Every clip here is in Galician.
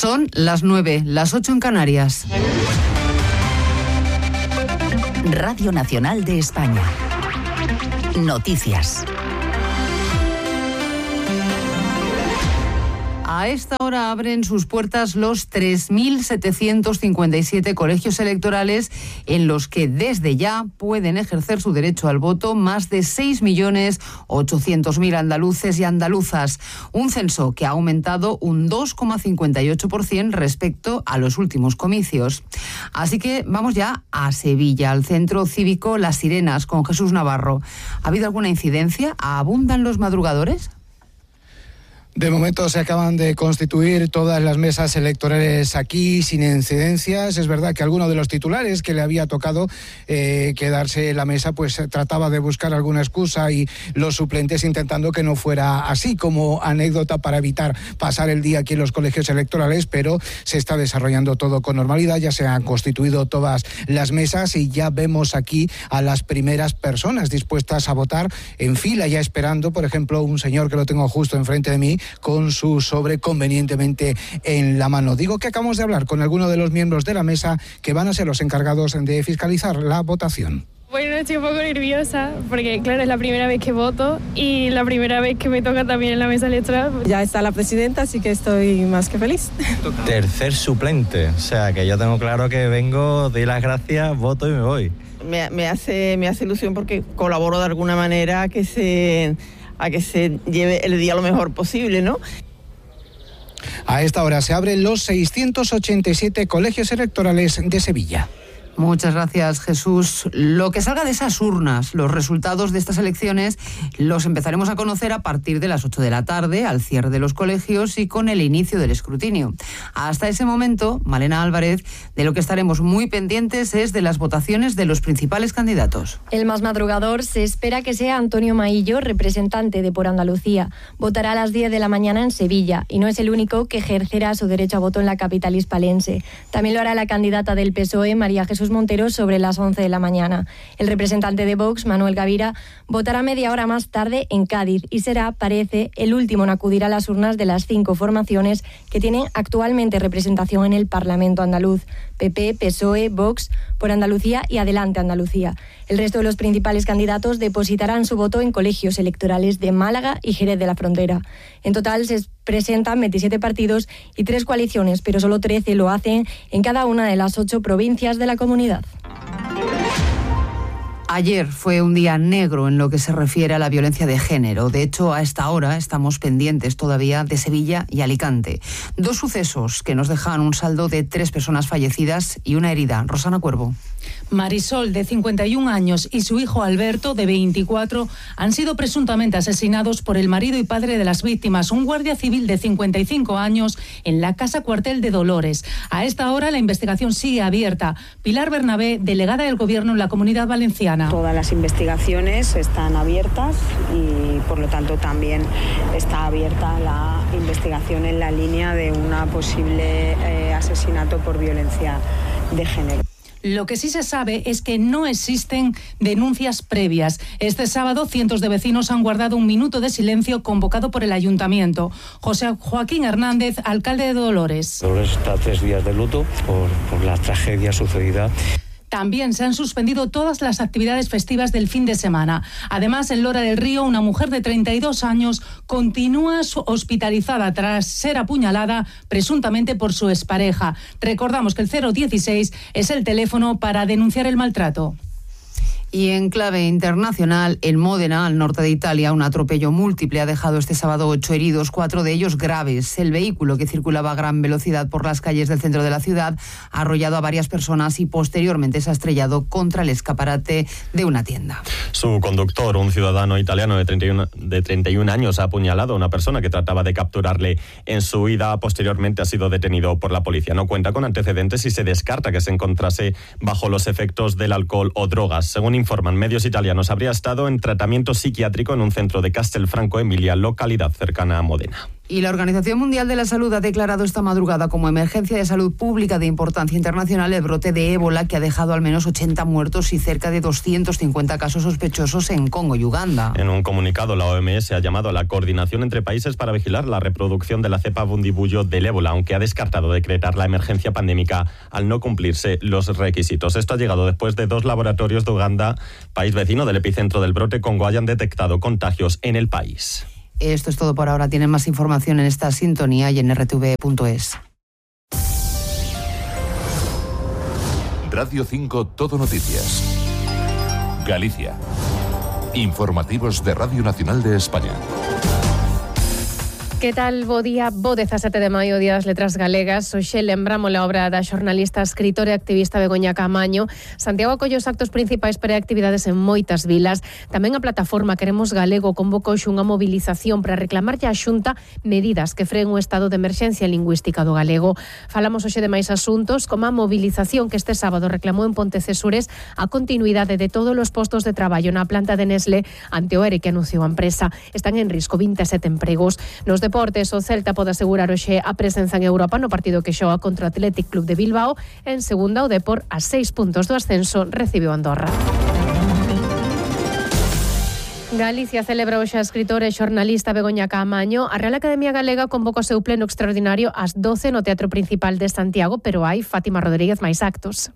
Son las 9, las 8 en Canarias. Radio Nacional de España. Noticias. A esta hora abren sus puertas los 3.757 colegios electorales en los que desde ya pueden ejercer su derecho al voto más de 6.800.000 andaluces y andaluzas. Un censo que ha aumentado un 2,58% respecto a los últimos comicios. Así que vamos ya a Sevilla, al Centro Cívico Las Sirenas, con Jesús Navarro. ¿Ha habido alguna incidencia? ¿Abundan los madrugadores? De momento se acaban de constituir todas las mesas electorales aquí sin incidencias. Es verdad que alguno de los titulares que le había tocado quedarse en la mesa pues trataba de buscar alguna excusa y los suplentes intentando que no fuera así, como anécdota para evitar pasar el día aquí en los colegios electorales, pero se está desarrollando todo con normalidad. Ya se han constituido todas las mesas y ya vemos aquí a las primeras personas dispuestas a votar en fila, ya esperando, por ejemplo, un señor que lo tengo justo enfrente de mí, con su sobre convenientemente en la mano. Digo que acabamos de hablar con algunos de los miembros de la mesa que van a ser los encargados de fiscalizar la votación. Bueno, estoy un poco nerviosa porque, claro, es la primera vez que voto y la primera vez que me toca también en la mesa electoral. Ya está la presidenta, así que estoy más que feliz. Tercer suplente, o sea que yo tengo claro que vengo, doy las gracias, voto y me voy. Me hace ilusión porque colaboro de alguna manera a que se lleve el día lo mejor posible, ¿no? A esta hora se abren los 687 colegios electorales de Sevilla. Muchas gracias, Jesús. Lo que salga de esas urnas, los resultados de estas elecciones, los empezaremos a conocer a partir de las 8 de la tarde, al cierre de los colegios y con el inicio del escrutinio. Hasta ese momento, Malena Álvarez, de lo que estaremos muy pendientes es de las votaciones de los principales candidatos. El más madrugador se espera que sea Antonio Maillo, representante de Por Andalucía. Votará a las 10 de la mañana en Sevilla y no es el único que ejercerá su derecho a voto en la capital hispalense. También lo hará la candidata del PSOE, María Jesús Montero, sobre las 11 de la mañana. El representante de Vox, Manuel Gavira, votará media hora más tarde en Cádiz y será, parece, el último en acudir a las urnas de las 5 formaciones que tienen actualmente representación en el Parlamento andaluz: PP, PSOE, Vox, Por Andalucía y Adelante Andalucía. El resto de los principales candidatos depositarán su voto en colegios electorales de Málaga y Jerez de la Frontera. En total se presentan 27 partidos y 3 coaliciones, pero solo 13 lo hacen en cada una de las 8 provincias de la comunidad. Ayer fue un día negro en lo que se refiere a la violencia de género. De hecho, a esta hora estamos pendientes todavía de Sevilla y Alicante. 2 sucesos que nos dejan un saldo de 3 personas fallecidas y una herida. Rosana Cuervo. Marisol, de 51 años, y su hijo Alberto, de 24, han sido presuntamente asesinados por el marido y padre de las víctimas, un guardia civil de 55 años, en la casa cuartel de Dolores. A esta hora la investigación sigue abierta. Pilar Bernabé, delegada del Gobierno en la Comunidad Valenciana. Todas las investigaciones están abiertas y, por lo tanto, también está abierta la investigación en la línea de una posible asesinato por violencia de género. Lo que sí se sabe es que no existen denuncias previas. Este sábado, cientos de vecinos han guardado un minuto de silencio convocado por el Ayuntamiento. José Joaquín Hernández, alcalde de Dolores. Dolores está 3 días de luto por la tragedia sucedida. También se han suspendido todas las actividades festivas del fin de semana. Además, en Lora del Río, una mujer de 32 años continúa hospitalizada tras ser apuñalada presuntamente por su expareja. Recordamos que el 016 es el teléfono para denunciar el maltrato. Y en clave internacional, en Módena, al norte de Italia, un atropello múltiple ha dejado este sábado 8 heridos, 4 de ellos graves. El vehículo, que circulaba a gran velocidad por las calles del centro de la ciudad, ha arrollado a varias personas y posteriormente se ha estrellado contra el escaparate de una tienda. Su conductor, un ciudadano italiano de 31 años, ha apuñalado a una persona que trataba de capturarle en su huida. Posteriormente ha sido detenido por la policía. No cuenta con antecedentes y se descarta que se encontrase bajo los efectos del alcohol o drogas. Según informan medios italianos, habría estado en tratamiento psiquiátrico en un centro de Castelfranco Emilia, localidad cercana a Módena. Y la Organización Mundial de la Salud ha declarado esta madrugada como emergencia de salud pública de importancia internacional el brote de ébola que ha dejado al menos 80 muertos y cerca de 250 casos sospechosos en Congo y Uganda. En un comunicado, la OMS ha llamado a la coordinación entre países para vigilar la reproducción de la cepa bundibugyo del ébola, aunque ha descartado decretar la emergencia pandémica al no cumplirse los requisitos. Esto ha llegado después de 2 laboratorios de Uganda, país vecino del epicentro del brote Congo, hayan detectado contagios en el país. Esto es todo por ahora. Tienen más información en esta sintonía y en rtv.es. Radio 5 Todo Noticias. Galicia. Informativos de Radio Nacional de España. Que tal? Bo día, bo 17 de maio, Día das Letras Galegas. Hoxe lembramos a obra da xornalista, escritora e activista Begoña Caamaño. Santiago acolle os actos principais para actividades en moitas vilas. Tamén a plataforma Queremos Galego convocou hoxe unha movilización para reclamarlle á Xunta medidas que freen o estado de emerxencia lingüística do galego. Falamos hoxe de máis asuntos, como a movilización que este sábado reclamou en Pontecesures a continuidade de todos os postos de traballo na planta de Nestlé ante o ERE que anunciou a empresa. Están en risco 27 empregos. Nos deportes, o Celta pode asegurar hoxe a presenza en Europa no partido que xoga contra o Athletic Club de Bilbao. En segunda, o Depor, a 6 puntos do ascenso, recibiu Andorra. Galicia celebra hoxe a escritora e xornalista Begoña Caamaño. A Real Academia Galega convoca o seu pleno extraordinario ás 12 no Teatro Principal de Santiago, pero hai, Fátima Rodríguez, máis actos.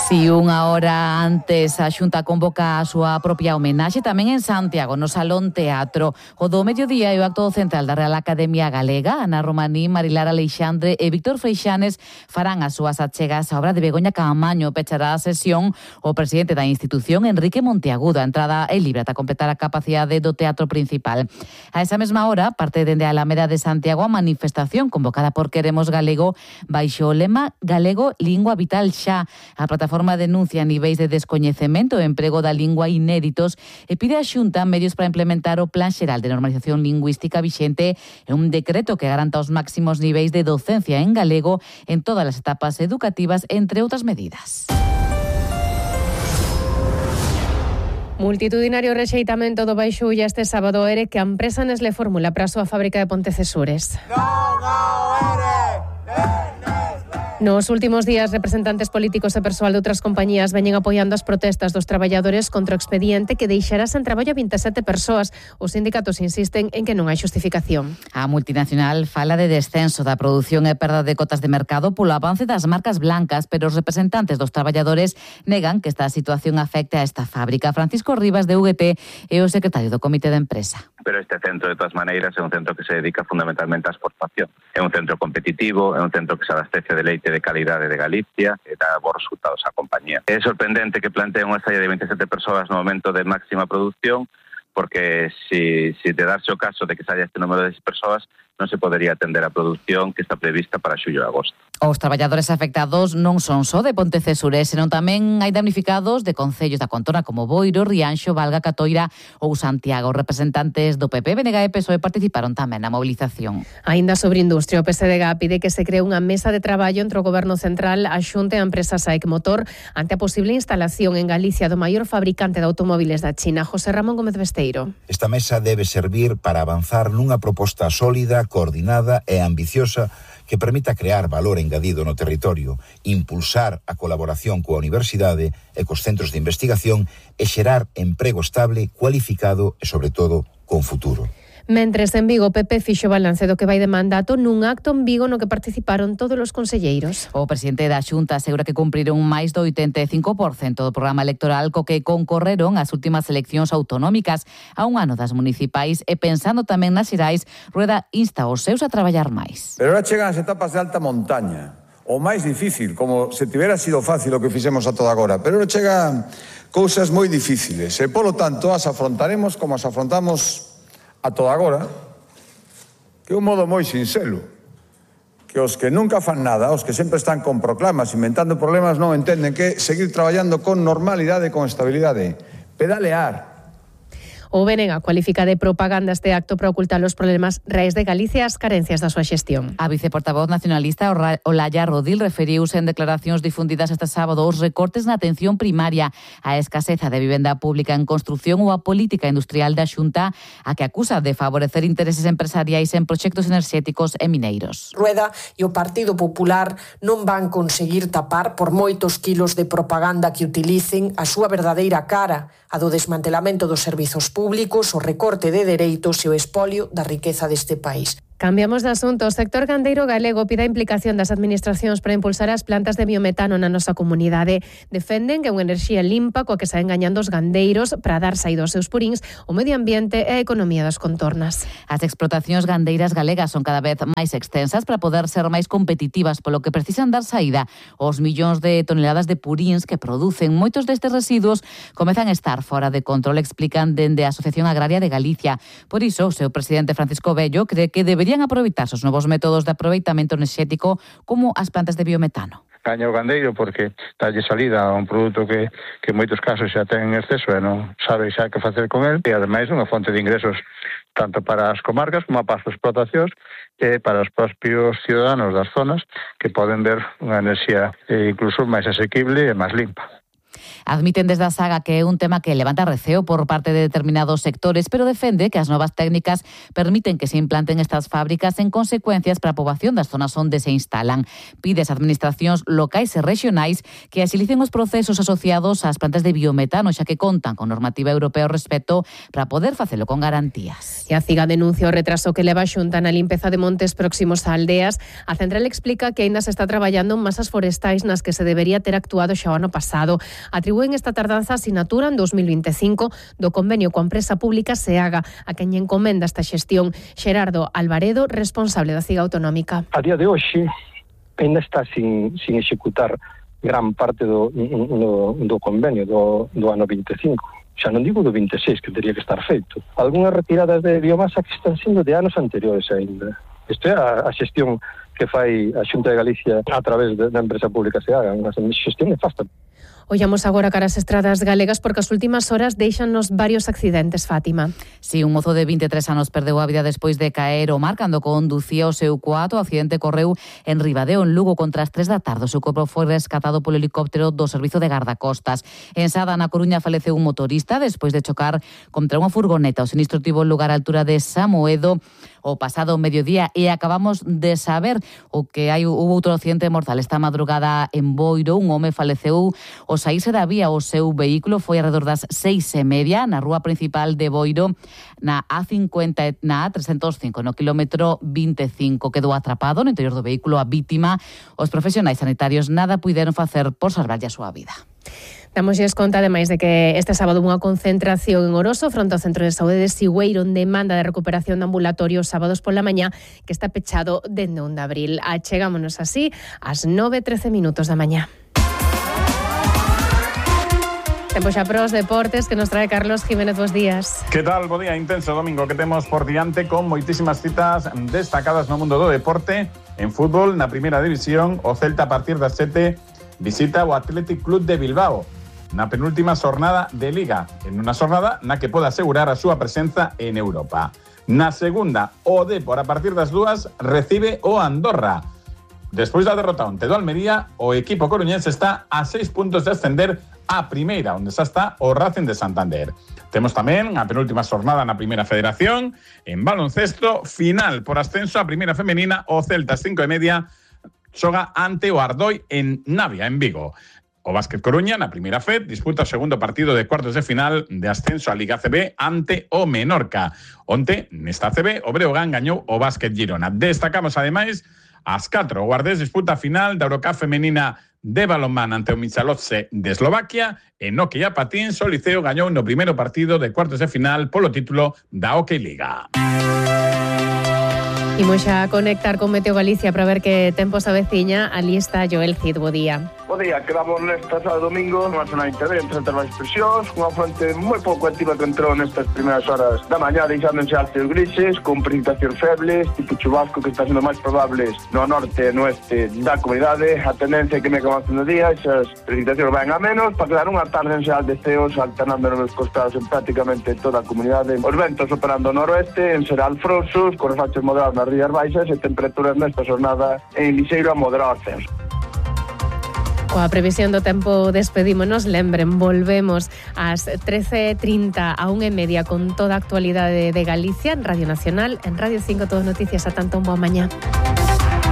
Si unha hora antes a Xunta convoca a súa propia homenaxe tamén en Santiago, no Salón Teatro. O do mediodía é o acto central da Real Academia Galega. Ana Romaní, Marilar Aleixandre e Víctor Freixanes farán as súas achegas á obra de Begoña Caamaño. Pechará a sesión o presidente da institución, Enrique Monteagudo. A entrada é libre ata completar a capacidade do Teatro Principal. A esa mesma hora, parte dende a Alameda de Santiago a manifestación convocada por Queremos Galego baixo o lema Galego, lingua vital xa. A plataforma denuncia niveis de descoñecemento e emprego da lingua inéditos e pide á Xunta medios para implementar o Plan Xeral de Normalización Lingüística vixente e un decreto que garanta os máximos niveis de docencia en galego en todas as etapas educativas, entre outras medidas. Multitudinario rexeitamento do Baixulla este sábado ERE que a empresa Nestlé formula para a súa fábrica de Pontecesures. Nos últimos días, representantes políticos e persoal de outras compañías veñen apoiando as protestas dos traballadores contra o expediente que deixará sen traballo a 27 persoas. Os sindicatos insisten en que non hai xustificación. A multinacional fala de descenso da produción e perda de cotas de mercado polo avance das marcas blancas, pero os representantes dos traballadores negan que esta situación afecte a esta fábrica. Francisco Rivas, de UGT, é o secretario do Comité de Empresa. Pero este centro, de todas maneiras, é un centro que se dedica fundamentalmente á exportación. É un centro competitivo, é un centro que se abastece de leite de calidade de Galicia e dá bons resultados á compañía. É sorprendente que planteen unha estalla de 27 persoas no momento de máxima produción, porque si de darse o caso de que saia este número de persoas, non se podería atender a produción que está prevista para xullo e agosto. Os traballadores afectados non son só de Pontecesures, senón tamén hai damnificados de concellos da contorna como Boiro, Rianxo, Valga, Catoira ou Santiago. Os representantes do PP, BNG e PSOE participaron tamén na movilización. Aínda sobre industria, o PSDG pide que se cree unha mesa de traballo entre o Goberno Central, a Xunta e a empresa SAEC Motor ante a posible instalación en Galicia do maior fabricante de automóviles da China, José Ramón Gómez Besteiro. Esta mesa debe servir para avanzar nunha proposta sólida, coordinada e ambiciosa que permita crear valor engadido no territorio, impulsar a colaboración coa universidade e cos centros de investigación e xerar emprego estable, cualificado e, sobre todo, con futuro. Mentres en Vigo, PP fixo balance do que vai de mandato nun acto en Vigo no que participaron todos os conselleiros. O presidente da Xunta asegura que cumpriron máis do 85% do programa electoral co que concorreron as últimas eleccións autonómicas a un ano das municipais e pensando tamén nas xerais, Rueda insta os seus a traballar máis. Pero ahora chegan as etapas de alta montaña, o máis difícil, como se tivera sido fácil o que fixemos a toda agora, pero ahora chegan cousas moi difíciles e, polo tanto, as afrontaremos como as afrontamos a toda agora, que é un modo moi sinxelo, que os que nunca fan nada, os que sempre están con proclamas, inventando problemas, non entenden que seguir traballando con normalidade e con estabilidade, pedalear. O BNG cualifica de propaganda este acto para ocultar os problemas reais de Galicia e as carencias da súa xestión. A viceportavoz nacionalista Olaya Rodil referiuse en declaracións difundidas este sábado aos recortes na atención primaria, a escaseza de vivenda pública en construción ou a política industrial da Xunta, a que acusa de favorecer intereses empresariais en proxectos enerxéticos e mineiros. Rueda e o Partido Popular non van conseguir tapar, por moitos quilos de propaganda que utilicen, a súa verdadeira cara, a do desmantelamento dos servizos públicos, o recorte de dereitos e o espolio da riqueza deste país. Cambiamos de asunto. O sector gandeiro galego pide a implicación das administracións para impulsar as plantas de biometano na nosa comunidade. Defenden que é unha enerxía limpa coa que saen gañando os gandeiros para dar saída aos seus puríns, o medio ambiente e a economía das contornas. As explotacións gandeiras galegas son cada vez máis extensas para poder ser máis competitivas, polo que precisan dar saída aos millóns de toneladas de puríns que producen. Moitos destes residuos comezan a estar fora de control, explican dende a Asociación Agraria de Galicia. Por iso, o seu presidente Francisco Bello cree que deberían aproveitarse os novos métodos de aproveitamento enerxético como as plantas de biometano. Gaña o gandeiro porque dalle salida a un produto que en moitos casos xa ten en exceso e non sabe xa que facer con el, e ademais unha fonte de ingresos tanto para as comarcas como para as explotacións e para os propios ciudadanos das zonas que poden ver unha enerxía incluso máis asequible e máis limpa. Admiten desde a Saga que é un tema que levanta receo por parte de determinados sectores, pero defende que as novas técnicas permiten que se implanten estas fábricas en consecuencias para a poboación das zonas onde se instalan. Pide ás administracións locais e rexionais que axilicen os procesos asociados ás plantas de biometano, xa que contan con normativa europea ao respecto para poder facelo con garantías. E a CIGA denuncia o retraso que leva a Xunta na limpeza de montes próximos a aldeas. A central explica que aínda se está traballando en masas forestais nas que se debería ter actuado xa o ano pasado. Atribúen esta tardanza a sinatura en 2025 do convenio coa empresa pública SEAGA, a quen encomenda esta xestión. Xerardo Alvaredo, responsable da CIGA autonómica. A día de hoxe ainda está sin executar gran parte do convenio do ano 25. Xa non digo do 26, que teria que estar feito. Algúnas retiradas de biomasa que están sendo de anos anteriores ainda. Isto é a xestión que fai a Xunta de Galicia a través da empresa pública SEAGA, unha xestión nefasta. Ollamos agora cara as estradas galegas porque as últimas horas deixanos varios accidentes, Fátima. Si, un mozo de 23 anos perdeu a vida despois de caer o mar cando conducía o seu cuato. O accidente correu en Ribadeo, en Lugo, contra as 3 da tarde. O seu corpo foi rescatado polo helicóptero do Servizo de Gardacostas. En Sada, na Coruña, faleceu un motorista despois de chocar contra unha furgoneta. O sinistro tivo lugar á altura de Samoedo o pasado mediodía e acabamos de saber o que hubo outro accidente mortal esta madrugada en Boiro. Un home faleceu ao saírse da vía. O seu vehículo foi alrededor das 6:30 na rúa principal de Boiro, na A50, na A305, no quilómetro 25. Quedou atrapado no interior do vehículo a vítima. Os profesionais sanitarios nada puideron facer por salvarlle a súa vida. Damosles conta, ademais, de que este sábado unha concentración en Oroso fronte ao Centro de Saúde de Sigüeiro en demanda de recuperación de ambulatorios sábados pola mañá, que está pechado dende 1 de abril. Achegámonos así ás 9:13 da mañá. Tempo xa para os deportes que nos trae Carlos Jiménez. Bos días. Que tal? Bo día, intenso domingo que temos por diante con moitísimas citas destacadas no mundo do deporte. En fútbol, na primeira división, o Celta a partir das 7 visita o Athletic Club de Bilbao na penúltima xornada de Liga, en unha xornada na que pode asegurar a súa presenza en Europa. Na segunda, o Depor a partir das 2 recibe o Andorra. Despois da derrota ante do Almería, o equipo coruñense está a 6 puntos de ascender a primeira, onde xa está o Racing de Santander. Temos tamén a penúltima xornada na Primeira Federación. En baloncesto, final por ascenso a primeira femenina, o Celta 5:30 xoga ante o Ardoi en Navia, en Vigo. O Básquet Coruña, na primeira FED, disputa o segundo partido de cuartos de final de ascenso a Liga ACB ante o Menorca. Onte, nesta ACB, o Breogán gañou o Básquet Girona. Destacamos, ademais, ás 4. O Guardés disputa a final da Eurocup femenina de balonmán ante o Michalovce de Eslovaquia. En hockey a patins, o Liceo gañou no primeiro partido de cuartos de final polo título da Hockey Liga. Imos xa a conectar con Meteo Galicia para ver que tempo se aveciña. Ali está Joel Cid, bo día. O día que damos nesta sábado domingo unha zona intervente entre as expresións, unha fronte moi pouco activa que entrou nestas primeiras horas da mañá, deixándose altos grises, con precipitacións febles, tipo chubasco que está sendo máis probable no norte e no oeste da comunidade. A tendencia é que me avance no día, esas precipitacións van a menos, para quedar unha tarde en xeral de ceos alternando nos costados en prácticamente toda a comunidade. Os ventos operando no noroeste, en xeral frouxos, con refachos moderados nas rías baixas e temperaturas nesta xornada en lixeiro a moderado ascenso. Coa previsión do tempo despedímonos. Lembren, volvemos ás 13:30 a 1:30 con toda a actualidade de Galicia en Radio Nacional, en Radio 5 Todo Noticias. A tanto, un boa mañá.